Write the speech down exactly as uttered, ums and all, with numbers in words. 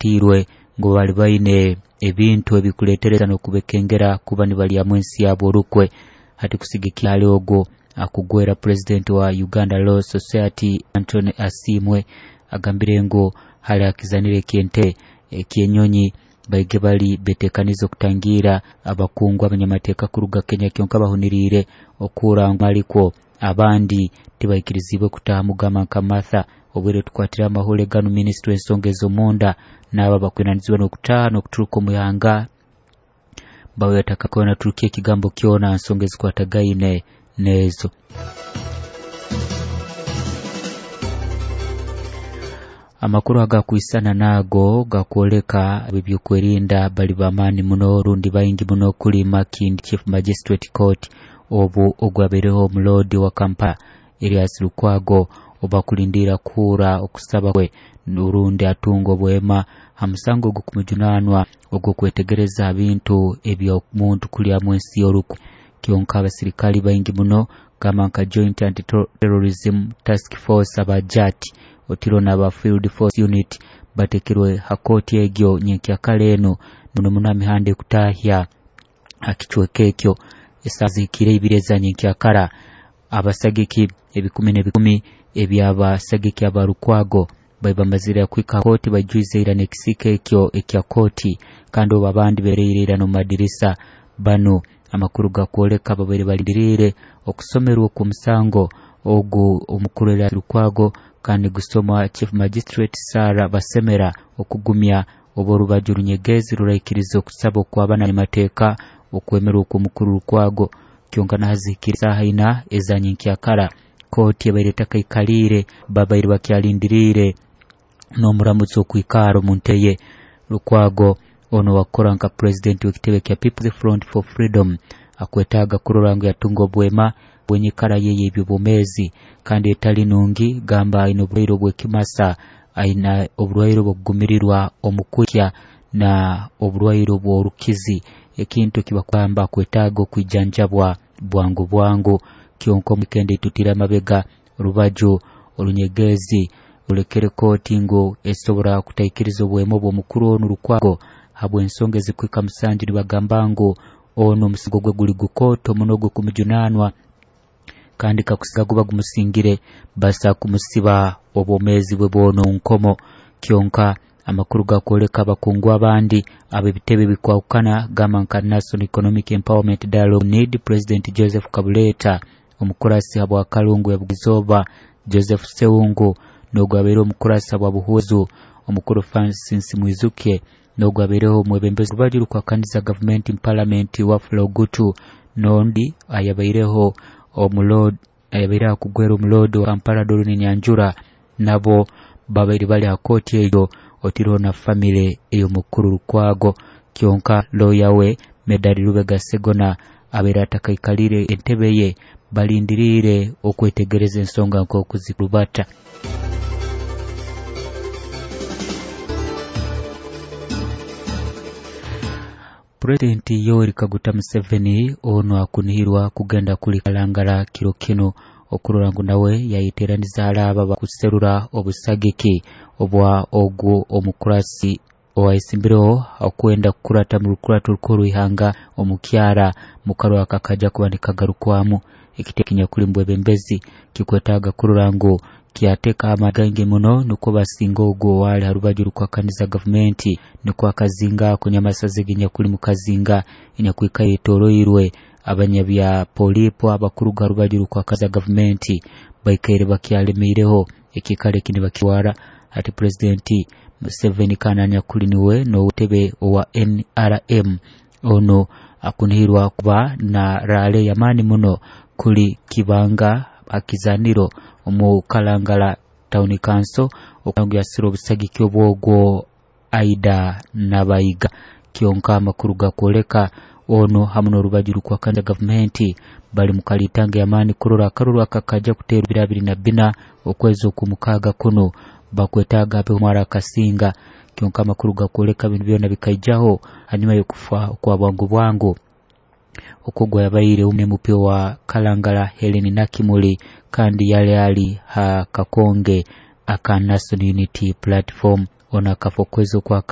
Bakwatiirwe ngu bali baine ebintu ebikuleetereza n'okubekengera kuba nibalyamu ensi yabo orukwe. Hati kusigikira hali ogwo akugwera pulezidenti wa Uganda Law Society Anthony Asiimwe agambire ngu hali akizanire eky'entebe eky'enyonyi baige bali betekanize okutangira abakungu abanyamateeka kuruga Kenya, kyonka bahuniriire okuhurra ngu alikwo abandi tibaikirizibwe kutaaha mugamba nka Martha. Obwire tukwatire amahule ganu, minisitule ensonga ez'omunda n'abo abakwinanizibwa n'okutaaha n'okuturuka omu ihanga bawe naturukia ekigambo kyona nsonga ezikwatagaine n'ezo. Amakuru agakwisana nago gakwoleka ebyokwerinda bali bamaani muno rundi baingi muno kuli Makindye Chief Magistrate Court obu ogwabaireho omuloodi wa Kampala Erias Lukwago obakulindira kuhurra okusaba kwe rundi atunga obwema ha musango ogw'okumujunanwa ogw'okwetegereza bintu eby'omuntu kulyamu ensi y'orukwe. Kyonka abasirikali baingi muno gamba nka Joint Anti-Terrorism Task Force aba JAT otiro n'aba Field Force Unit batekerwe ha kooti egyo nyenkyakara enu muno muno ha mihanda ekutahya ha kicweka ekyo. Esaaha zihikire ibiri eza nyenkyakara, abasagiki ebikumi n'ebikumi eby'abasagiki aba Lukwago bali bamazire kuhika ha kooti, baijwize ira n'ekisiika ekyo ekya kooti, kandi obu abandi bereire ira n'omu madirisa. Banu amakuru gakwoleka babaire balindiriire okusomerwa okw'omusango ogu omukuru Erias Lukwago, kandi gusomwa Chief Magistrate Sarah Basemera okugumya obu orubaju orunyegezi ruraikiriza okusaba okw'abanyamateeka okwemerwa okw'omukuru Lukwago. Kyonka nahazihikire esaaha ina eza nyenkyakara, kooti ebaire etakaikaliire, babaire bakyalindiriire n'omuramuzi okwikara omu ntebe ye. Lukwago ono wakukora nka pulezidenti w'ekitebe kya People's Front for Freedom akwetaaga kurora ngu yatunga obwema bw'enyikara ye ey'ebyobwomeezi kandi etali nungi, gamba aine oburwaire obw'ekimasa, aine oburwaire obw'okugumirirwa omu kwikya na oburwaire obw'orukizi, ekintu ekibakugamba akwetaaga okwijanjabwa bwangu bwangu. Kyonka omu wiikendi eitutire amabega, orubaju orunyegezi rulekere kooti ngu esobora kutaikiriza obwema obw'omukuru onu Lukwago habw'ensonga ezikuhika musanju, nibagamba ngu ono omusango gwe guli gukooto muno ogw'okumujunanwa, kandi kakusinga guba gumusingire basa kumusiba obwomeezi bwe bwona omu nkomo. Kyonka amakuru gakwoleka abakungu abandi ab'ebitebe bikwahukana gamba nka National Economic Empowerment Dialogue N E D President Joseph Kabuleta, omukurasi habwa Kalungu ya Bugizooba Joseph Sewungu, n'ogwo abaire omukurasi habwa Buhwezu omukuru Francis Mwizuke, n'ogwo abaireho omwebembezi orubaju rukwakaniza gavumenti mu palamenti Wafula Ogutu, n'ondi ayabaireho omuloodi ayabaire akugwera omuloodi wa Kampala Doreen Nyanjura, nabo babaire bali ha kooti eyo otireho na famire ey'omukuru Lukwago. Kyonka looya we Medard Lubega Segona abaire atakaikalire entebe ye, balindiriire okwetegereza ensonga nk'oku zikurubata. Pulezidenti Yoweri Kaguta Museveni ono akunihirwa kugenda kuli Kalangala kiro kinu okurora ngu nawe yayeteraniza hali abo abakuserura obusagiki obwa ogwo omukurasi owayesimbireho okwenda kukurata mu rukurato rukuru rw'ihanga omukyara mukarwa akakaja kuba nikagarukwamu. Ekitebe kinyakuli mu bwebembezi kikwetaaga kurora ngu kyateka amaani muno nukwo basinga ogwo owali ha rubaju rukwakaniza gavumenti, nukwo akazinga ako nyamasaza eginyakuli mu kazinga enyakwikaire etoroirwe abanyabya polipo abakuruga rubaju rukwakaniza gavumenti baikaire bakyalemeireho ekiikaro eki nibakitwara. Hati Pulezidenti Museveni kandi anyakuli niwe n'owutebe owa N R M ono akunihirwa kuba na rale y'amaani muno kuli Kibanga akizaniro omu Kalangala Town Council okungu yasira obusagiki obwogwo Aida Nabayiga. Kyonka amakuru gakwoleka ono hamu n'orubaju rukwakaniza gavumenti bali mu kalitanga y'amaani kurora akaruru akakaja kuteerwa bibiri abiri na bina okwezi okw'omukaaga kuno bakwetaaga abe omwara akasinga. Kyonka amakuru gakwoleka binu byona bikaijaho hanyuma y'okufa okwa bwangu bwangu okwo yabaire M P wa Kalangala Helen Nakimuli, kandi yali ali ha kakonge aka National Unity Platform. Ono akafa okwezi okwa